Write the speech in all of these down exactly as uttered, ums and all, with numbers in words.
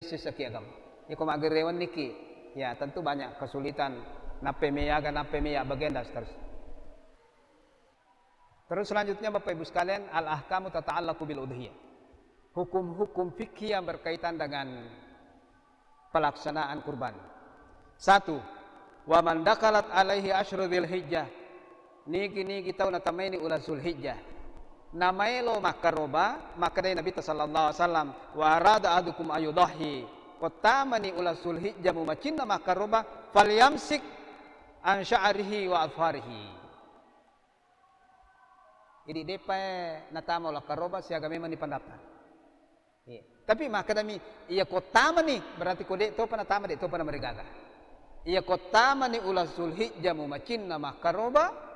sessaki agama. Iko maggerewan niki, ya tentu banyak kesulitan, nappe meyaga, nappe meya bagian dan seterusnya. Terus selanjutnya Bapak Ibu sekalian, al-ahkamu tata'allaqu bil udhiyah. Hukum-hukum fikih yang berkaitan dengan pelaksanaan kurban. Satu, wa man dakhalat alaihi asyru dzulhijjah. Nigi-nigi tau natamaini uleng Zulhijjah. Namaelo makkaroba, makkedai Nabitta sallallahu alaihi wasallam, wa arada ahadukum ayudhhi. Kottamani uleng Zulhijjah mumacinna makkaroba, falyamsik an sya'rihi wa adfarihi. Jadi depae natama uleng karoba siaga memang ni pendaftar. Iya. Tapi makkedami, iya kottamani, berarti ko de' topa natama, de' topa namarigaga. Iya kottamani uleng Zulhijjah mumacinna makkaroba,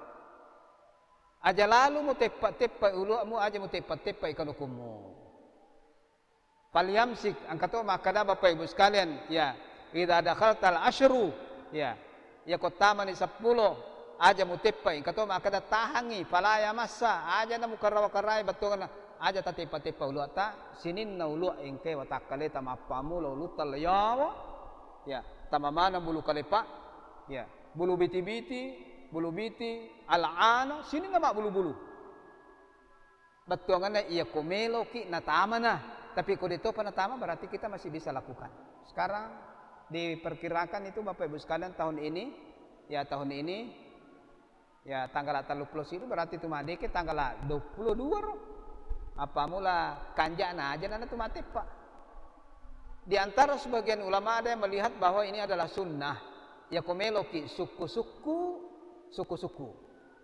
aja lalu muteppa-teppa ulu'mu, aja muteppa-teppa kanukummu. Falyamsik, engka to makkeda Bapak Ibu sekalian, ya, idza dakhaltal asyru, ya, iya kottamani seppulo, aja muteppai, engka to makkeda tahangi, fala yamassa, aja namukarawa-karai bettuanna, aja tateppa-teppa uluatta, sininna ulua engkae watakkaleta mappamula ulutta layawa, ya, tamamaneng bulu kalepa, ya, bulu biti-biti, bulu biti, al'ana, sininna mabbulu-bulu. Bettuanganna iya ko meloki natamana, tapi ko de' topa natama berarti kita masih bisa lakukan. Sekarang diperkirakan itu Bapak Ibu sekalian tahun ini, ya tahun ini, ya tanggal telluppulo siddi berarti tu madeke tanggal duappulo dua ro. Apa mula kanjana aja nana tu mateppa. Di antara sebagian ulama ada yang melihat bahwa ini adalah sunnah. Ya ko meloki sukku-sukku, sukku-sukku.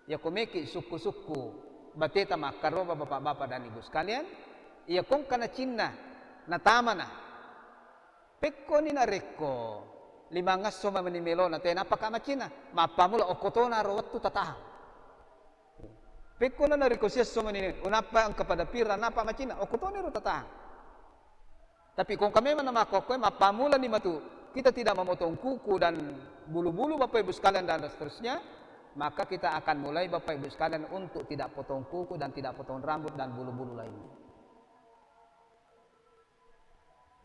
Iya ko meki sukku-sukku bateta makkaroba, bapak-bapak dan ibu sekalian, iya ko engka nacinna natamana. Pekkoni narekko limangesso mani melona, tenapaka macinna, mappamula okkotona ro wettu tatahang. Pekkona narekko siesso mani, unappa engka pada pira napa macinna, okkotoni ro tatahang. Tapi ko engka memang namakkokkoe, mappamulani matu kita tidak memotong kuku dan bulu-bulu, Bapak Ibu sekalian, dan seterusnya, maka kita akan mulai, Bapak Ibu sekalian, untuk tidak potong kuku dan tidak potong rambut dan bulu-bulu lainnya.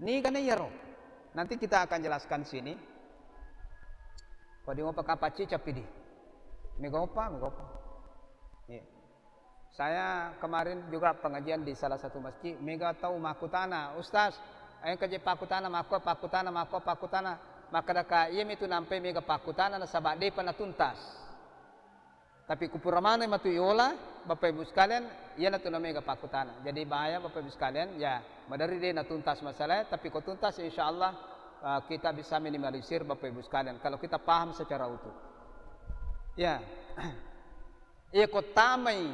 Niga na iyaro? Nanti kita akan jelaskan sini. Ko di mopa kapacci capidi. Mega opa, mega opa. Iya. Saya kemarin juga pengajian di salah satu masjid, mega tau makkutana, "Ustaz, engka je pakkutana makko, pakkutana makko, pakkutana." Makkedaka, "Iya mitu nampai mega pakkutana nasaba depa natuntas." Tapi kupura maneng matu iola, Bapak Ibu sekalian, iyanatu namega pakkutana. Jadi bahaya Bapak Ibu sekalian, ya maderri de natuntas masalah, tapi ko tuntas insya Allah, uh, kita bisa minimalisir Bapak Ibu sekalian kalau kita paham secara utuh. Ya. Iya ko tamai,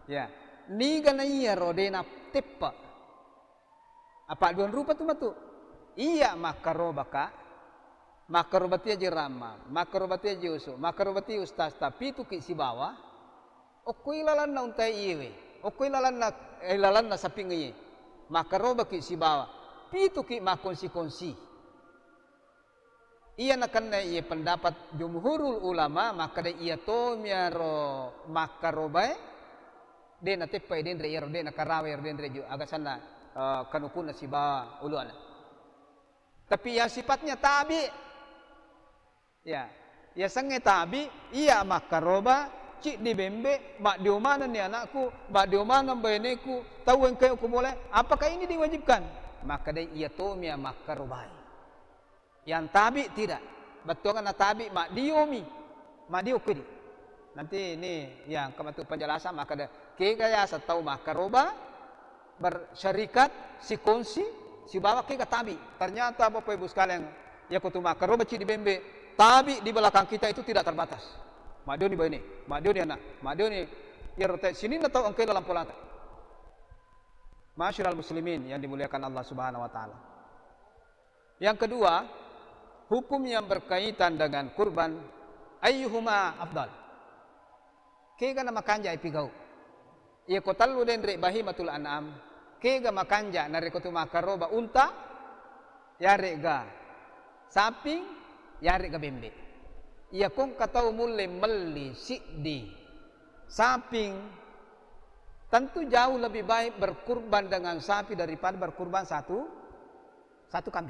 ya, niga na iyaro de nateppa. Apa duang rupa tu matu. Iya makkarobaka, makkaroba tia je Rama, makkaroba tia je Usu, makkaroba tia ustaz, tapi tuki sibawa, okkoi lalanna untai iyewe, okkoi lalanna, eh, lalanna saping iye, makkarobaki sibawa, pituki makkonsi-konsi. Iya nakenna iye pendapat jumhurul ulama, makkeda iya tomiaro makkarobae, de nateppai denre iyaro, de nakarawa iyaro denre ju-, agasanna, eh, kanukunna sibawa uluana. Tapi yang sifatnya tabi, ya, yasengnge tabi, iya makkaroba, ciddi bembe, maddio manenni anakku, maddio maneng baineku, tau engkae ku mulai, apakah ini diwajibkan? Makkeda iya tomia makkarobai. Yang tabi tidak. Bettuanna tabi maddiomi. Maddio kudi. Nanti ini yang kematu penjelasan maka de-, kega yaseng tau makkaroba, bersyarikat, sikonsi, sibawa kega tabi. Ternyata Bapak Ibu sekalian, ya kutu makkaroba ciddi bembe, tabi di belakang kita itu tidak terbatas. Maddioni baine, maddioni anak, maddioni iyaro te sininna tau engkai lalang polata. Ma'asyiral muslimin yang dimuliakan Allah Subhanahu wa taala. Yang kedua, hukum yang berkaitan dengan kurban, ayyuhuma afdal. Kega na makanja ipigau? Iya ko tellu denre bahimatul an'am, kega makanja narekko tu makkaroba unta, yarega saping, yarega bembe. Iya ko engka tau mulle melli siddi saping, tentu jauh lebih baik berkurban dengan sapi daripada berkurban satu, satu kambing.